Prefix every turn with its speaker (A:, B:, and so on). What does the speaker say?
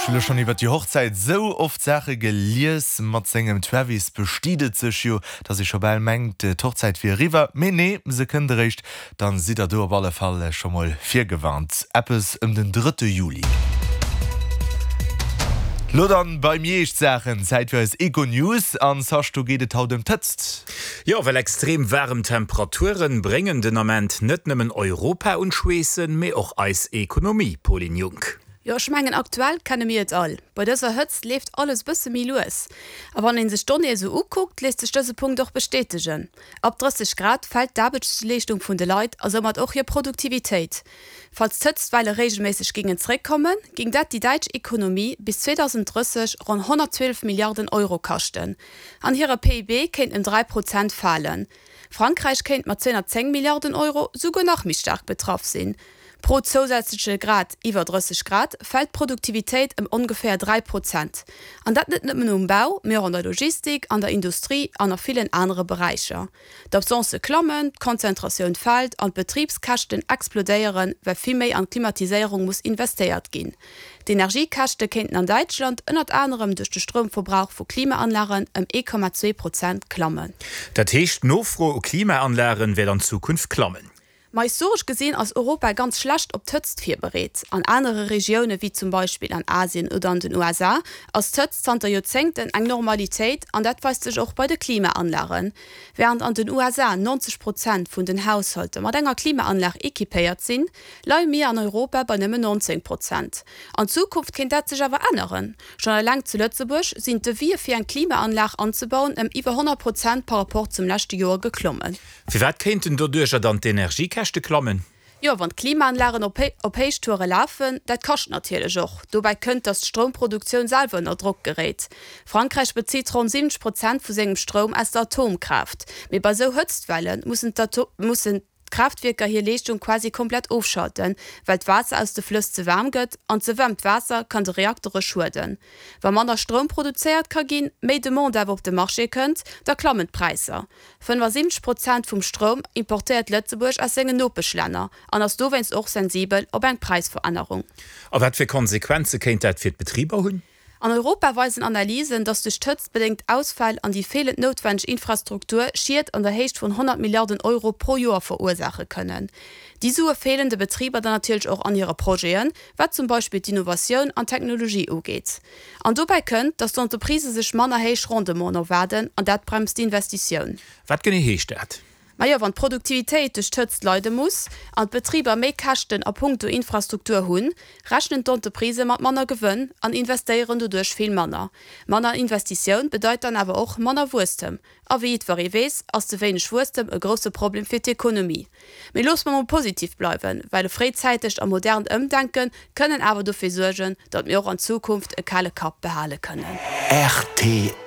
A: Ech hu lo schonn iwwert déi Hochzäit sou oft Saache gelies. Mat sengem Travis bestiet et sech jo, dass ee scho bal mengt, d'Hochzäit wier eriwwer. Mee nee, se kënnt eréischt. Dann sidd der do op alle Fall scho mol virgewarnt. Eppes ëm den drëtte Juli. Lo dann bei mir eescht Saachen, Zäit fir eis Econews. An Sasch, do geet et haut ëm d'Hëtzt.
B: Jo, well extrem waarem Temperaturen bréngen den Ament net nëmmen Europa un d'Schweessen, mee och eis Ekonomie, Pauline Junck.
C: Jo, ech mengen aktuell kenne mir et all, bei dëser Hëtzt leeft alles bësse méi lues. A wann een sech d'Donnéeë sou ukuckt, léisst sech dëse Punkt och bestätegen. Ab 30 Grad fält d'Aarbechtsleeschtung vun de Leit a soumat och hir Produktivitéit. Falls d'Hëtztwelle reegelméisseg gingen zeréckkommen, ging dat déi däitsch Ekonomie bis 2030 ronn 112 Milliarden Euro kaschten an hire PIB kéint ëm 3 Prozent falen. Frankräich kéint mat 210 Milliarden Euro souguer nach méi staark betraff sinn. Pro zousätzleche Grad iwwer 30 Grad fält d'Produktivitéit ëm ongeféier 3 Prozent. An dat net nëmmen um Bau, mee och an der Logistik, an der Industrie an a villen anere Beräicher. D'Absencë klammen, d'Konzentratioun fält an d'Betribskäschten explodéieren, well vill méi an d'Klimatiséierung muss investéiert ginn. D'Energiekäschte kéinten an Däitschland ënnert anerem duerch de Stroumverbrauch vu Klimaanlagen ëm 1,2 Prozent klammen.
B: Dat heescht, d'Nofro u Klimaanlagen wäert an Zukunft klammen.
C: Ma historesch gesinn ass Europa ganz schlecht op d'Hëtzt virbereet. An anere Regioune wéi zum Beispill an Asien oder an den USA ass d'Hëtzt zanter Joerzéngten eng Normalitéit an dat weist sech och bei de Klimaanlagen. Wärend an den USA 90 Prozent vun den Haushalter mat enger Klimaanlag equipéiert sinn, leie mir an Europa bei nëmmen 19 Prozent. An Zukunft kéint dat sech awer änneren. Schonn eleng zu Lëtzebuerg sinn d'Devisë fir eng Klimaanlag anzebauen ëm iwwer 100 Prozent par rapport zum leschte Joer geklommen.
B: Firwat kéinten doduercher dann d'Energiekäschte klammen?
C: Jo, wann d'Klimaanlagen op Héichtoure lafen, dat kascht natierlech och. Dobäi kënnt, datt d'Stroumproduktioun selwer ënner Drock geréit. Frankräich bezitt ronn 70 Prozent vu sengem Stroum aus der Atomkraaft. Mee bei esou Hëtztwelle mussen d'Atom. D'Kraaftwierker hir Leeschtung quasi komplett ofschalten, well d'Waasser aus de Flëss ze waarm gëtt, an ze waarmt Waasser kann de Reaktere schueden. Wa manner Stroum produzéiert ka ginn, méi Demande awer op de Marché kënnt, da klammen d'Präisser. 75 Prozent vum Stroum importéiert Lëtzebuerg aus sengen Nopeschlänner an ass dowéinst och sensibel op eng Präisverännerung.
B: A wat fir Konsequenze kéint dat fir d'Betriber hunn?
C: An Europa weisen Analysen, datt duerch d'Hëtzt bedéngt Ausfäll an déi feelend noutwenneg Infrastruktur Schied an der Héicht vun 100 Milliarden Euro pro Joer verursaache kënnen. Déi Sue feelen de Betriber dann natierlech och an hire Projeten, wat zum Beispill d'Innovatioun an d'Technologie ugeet. An dobäi kënnt, datt d'Entreprisë sech manner héich Rendementen erwaarden an dat bremst d'Investitioun.
B: Wat genee heescht dat?
C: Majo, wann d'Produktivitéit duerch d'Hëtzt leide muss an d'Betriber méi Käschten a punkto Infrastruktur hunn, rechnen d'Entreprisë mat manner Gewënn an investéieren doduerch vill manner. Manner Investitioun bedeit dann awer och manner Wuesstem. A wéi jiddweree weess, ass ze wéineg Wuesstem e grousse Problem fir d'Ekonomie. Mee loosse mer mol positiv bleiwen, well e fréizäitegt a modernt Ëmdenke kënnen awer dofir suergen, datt mir och an Zukunft e kale Kapp behale kënnen.
B: Rtl.